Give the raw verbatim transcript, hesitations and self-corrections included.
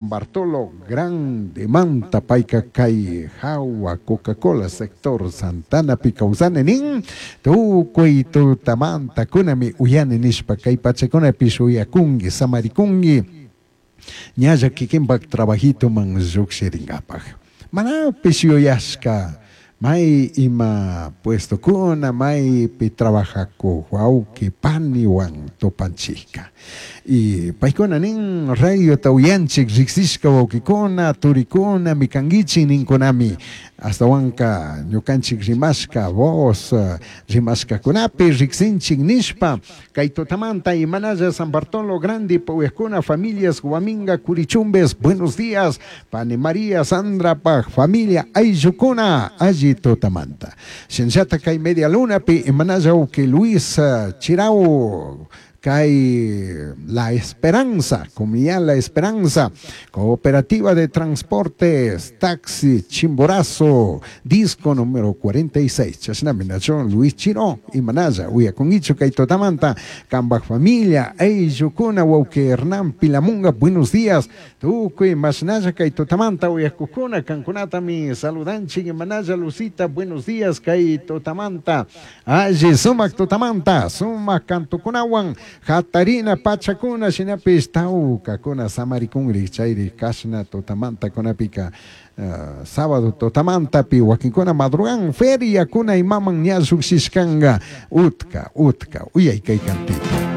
Bartolo Grandemanta payka kay hawa Coca-Cola sector Santanapi kawsani nin tukuy tutamanta kunami uyani nishpa kay pachakunapish uyakunki samarikunki ñalla kikinpak trabajitoman llukshirinkapak manapish yuyashka may ima puestokuna maypi trabajakuk wawki paniwan tupanchikka y paykuna nin radiota uyanchik riksishka wawkikuna turikunami kankichik ninkunami astawanka ñukanchik rimashka voz rimashkakunapi riksinchik nishpa kay tutamanta imanalla San Bartolo Grande uyakuna familias Guaminga Curichumbes buenos días pani María Sandrapaj familia ayllukuna alli tutamanta shinallata kay media lunapi imanalla wawki Luis Chirau kay La Esperanza, Comunidad La Esperanza, Cooperativa de Transportes, Taxi, Chimborazo, disco número cuarenta y seis. Chashnami nacho Luis Chiro, imanalla, uyakunkichu kay tutamanta, kambaj familia, ayllukuna, wawki Hernán Pilamunga, buenos días. Tukuy mashnalla kay tutamanta, uyakukuna, kankunatami saludanchik, imanalla Lucita, buenos días, kay tutamanta, alli sumak tutamanta, sumak kantukunawan, Jatarina pachakuna shinapish tawkakuna samarikunri chayri kashna tutamanta kunapika uh, sábado tutamantapi wakinkuna madrugan feriakuna imaman ña llushishkanga utka utka uyay kay kantita.